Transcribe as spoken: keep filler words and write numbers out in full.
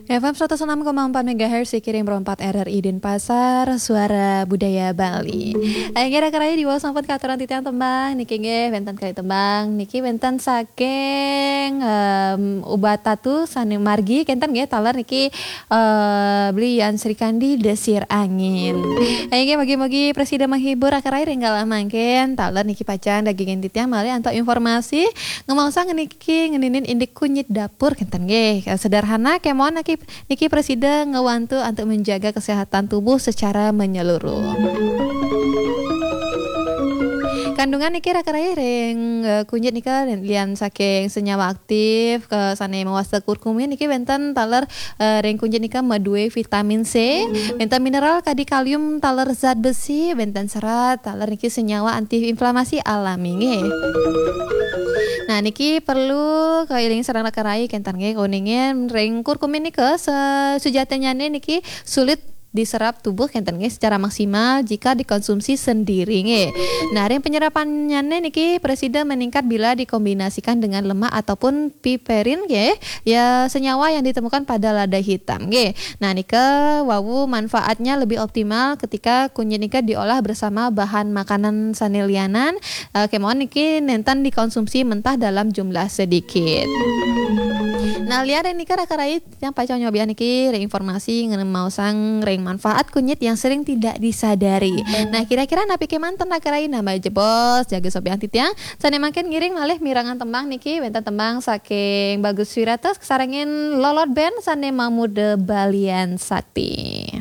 F M seratus enam koma empat megahertz, Kiring empat R R I Denpasar, Suara Budaya Bali. Akhirnya, Raka Rai, diwaos sampun katurang titiang tembang niki nggih, wénten kalih tembang niki wénten saking, em, Ubat Tatu sané margi kénten nggih, taler niki, eh, Beli Yan Srikandi, Desir Angin. Inggih, mugi-mugi prasida menghibur, Raka Rai, ring galah mangkin, taler niki pacang dagingin titiang malih antuk informasi, ngemaosang niki ngeninin indik kunyit dapur kénten nggih. Sederhana kémawon niki, niki prasida ngewantu antuk menjaga kesehatan tubuh secara menyeluruh. Kandungan niki, Raka Rai, ring, eh, kunyit nika lian saking senyawa aktif ke sané mawasta kurkumin niki wénten taler, eh, ring kunyit nika madué vitamin C, wénten mineral kadi kalium taler zat besi, wénten serat taler niki senyawa antiinflamasi alami nggih. Nah, niki perlu kailing sareng Raka Rai kénten nggih, kuningin ring kurkumin nika se-, sujatinnyané niki sulit diserap tubuh kénten nggih secara maksimal jika dikonsumsi sendiri nggih. Nah, ring penyerapannyané niki prasida meningkat bila dikombinasikan dengan lemak ataupun piperin nggih, ya, senyawa yang ditemukan pada lada hitam nggih. Nah, nika wau manfaatnya lebih optimal ketika kunyit nika diolah bersama bahan makanan sané lianan, eh, kémawon niki nénten dikonsumsi mentah dalam jumlah sedikit. Nah, lian ring nika, Raka Rai, titiang pacang nyobiahang niki ring informasi ngemaosang ring manfaat kunyit yang sering tidak disadari. Nah, kira-kira napi kémanten, Raka Rai? Nah, malih jebos, jaga sobiahang titiang. Sané mangkin ngiring malih mirengang tembang niki, wénten tembang saking Bagus Wirata kasarengin Lolot Band sané mamuda Balian Sakti.